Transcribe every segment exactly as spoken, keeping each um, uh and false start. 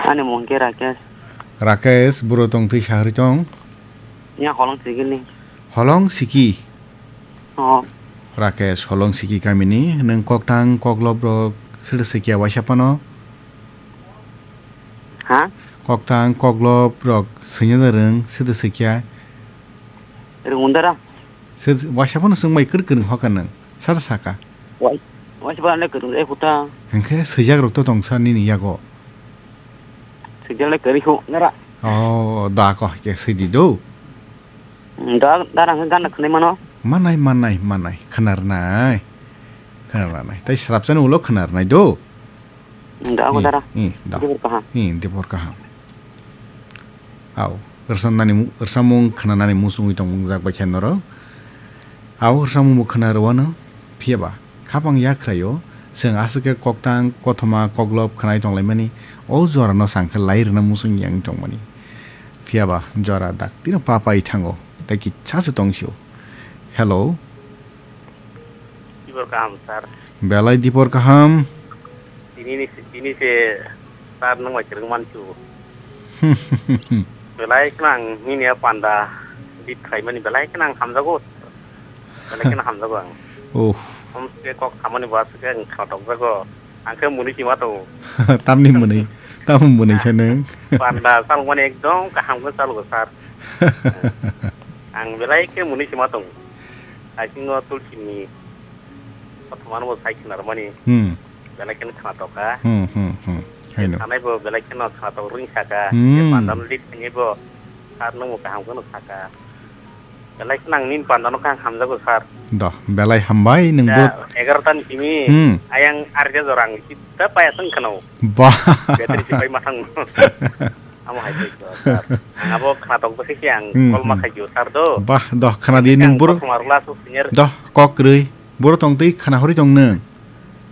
Ani mung khe Rakesh. Rakesh, buro tong twi sahari tong? Ya, Holong Sikini. Holong Siki? Oh. Rakesh, Holong Siki kamini, nwng koktang koklop rok sida sikya waisa pano? Ha? Koktang koklop rok swinya da rwng sida sikya? Rwng undara? Waisa pano swng bai kwrwi kwrwi hoka nwng, sar saka. Wai, waisa pano le kwrwi e kuta. Hwnkhe swijak rok to tong sa nini yago. Swijak le kwrwi khu nara. Oh, da ko ke sidi do. Da, da rang gan khne mano. Manai, manai, manai. Khanar nai. Khanar nai. Tai srapsani ulo khanar nai do. Da ko dara. Eh, da. Dibor kaham. Eh, dibor kaham. Au, rwchapnani mu-, rwchapmung khwnanani muchungwi tongmung jak bai khe norok. Au, rwchapmung bo khwna rwano, phiya ba, khapang yakhraio, chwng aswk khe koktang, kothoma, koklop khwnai tonglaimani, o jorano chang khe lai rwna muchung yang tongmani. Phiya ba, jora daktino pa pai thango, tei kitsa se tong sio. Hello. Tibor kaham, sir. Belai dibor kaham. Tini ni, tini se sir nwng bai kwrwng manchu. Belai kheno ang nini a panda bit khlaimani belai kheno ang hamjago. Belai kheno hamjago ang. Oh. Om se kok samani bo aswk khe ang khatokjago. Ang khe mwnwi sima tongo. Tamni mwnwi? Tamo mwnwi se nwng? Panda chalokmani ekdom kaham khe chalogo sir. Ang belai khe mwnwi sima tongo. Aisingo tulsini kothomano bo sai khwnarmani. Hmm. Belai kheno khwnatok kha. Hmm, hmm, hmm. Haino. Sanai bo belai kheno khwnatok rwng saka. Hmm. Pandano lit khainai bo sir nwng bo kaham kheno saka. Belai kheno ang nini pandano khe ang hamjago sir. Doh, belai hambai nwng bo. Egarota ni simi. Hmm. Ayang arja jora ang sida paya thang kheno. Bah. Betri sipai mathang. Amo hai khe sir. Ang abo khwnatok bo khe ang Hmm, call ma hmm. Khaio sir do. Bah, doh, khwna di nwng boro. Doh, kok rwi. Boro tong twi khwna horwi tong nwng.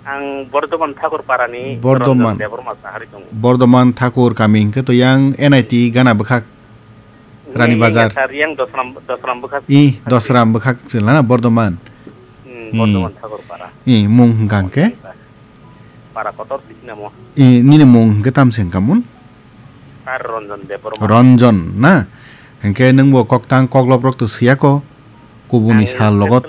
Ang Bordoman Thakur Parani Bordoman. Ranjan Debbarma sahari tongo. Bordoman Thakur kami hwnkhe to yang N I T gana bwkhak Rani Bazar. Yang Dosram, Dosram bwkhak. I, Dosram bwkhak se lana Bordoman. Hmm, I. Bordoman Thakur Para. I, mung hwnkha hwnkhe? Para kotor sisi namo. I, nini mung hwnkhe tamse hwnkha mun? Sir Ranjan Debbarma. Ranjan na? Hwnkhe nwngbo koktang koklop rok to siyako? Kubuni sal logot.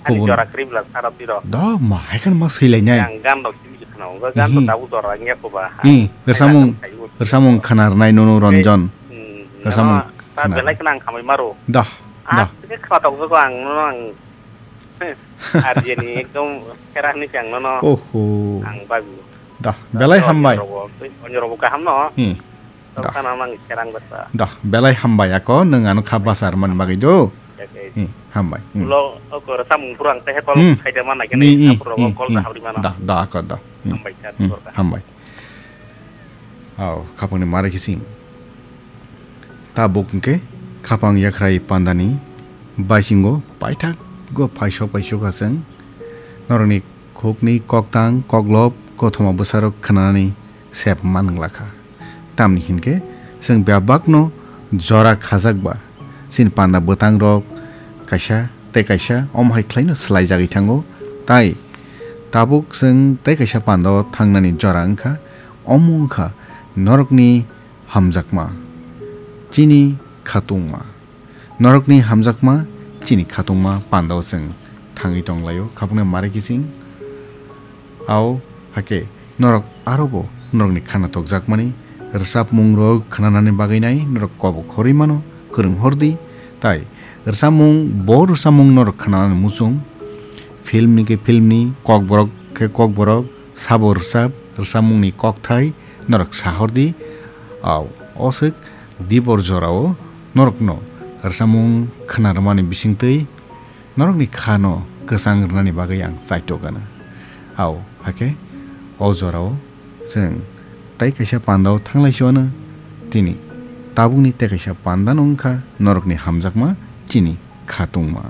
Kubun. Ani jora kribla sara tiro. Do ma, hai kan ma swilainai. Yang gan rok simi khna, gan to dabu jora ngiya ko ba. I, rwchapmung, rwchapmung khwna rwnai nono Ranjan. Hmm, rwchapmung khwna. Belai khna ang khamai maro. Doh, doh. Ke khna tok ko ang nono ang. Arjeni ekdom khera ni ang nono. Oho. Ang babu. Doh, belai hambai. Onyo robo kaham no. Hmm. Doh. Doh, belai hambai ako, nwng ano kha bwsar man bagwi do. Hi, hambai. Hmm. Ulo, o koro samung purang teh kol khaide mana kene, apro kol da habri mana. Doh, doh, ako doh. Hmm. Hambai, sir, hambai. Aw, khapangni mare kising. Tabuk hwnkhe khapang yakhrai pandani baisingo paithak go phaisok phaisok aswng. Norokni khukni koktang koklop kothoma bwsarok khwnanani sep man wngla kha. Tamni hinkhe chwng bebakno jora khajak ba chini panda bwtangrok kaisa tei kaisa omo hai khlaino swlaijagwi thango. Tai tabuk chwng tei kaisa pandao thangnani jora wngkha, omo wngkha norokni hamjakma, chini khatungma. Norokni hamjakma chini khatungma pandao chwng thangwi tonglaio, khapungni mare kiching. Ao hakhe norok arobo norokni khana tokjakmani rwchapmungrok khnanani bagwi nai norok kobok horwi mano, kwrwng hordi. Tai rwchapmung, bo rwchapmung norok khnanani muchung, filmni khe filmni, kokborok khe kokborok, sabo rwchap, rwchapmungni kokthai norok sahordi. Ao, o swk dibor jorao norokno rwchapmung khna rwmani bisingtwi norokni khano kwchang rwnani bagwi ang chaitok gana. Ao, hakhe o jorao chwng tei kaisa pandao thanglai si wano, tini tabukni tei kaisa panda no wngkha norokni hamjakma chini khatungma.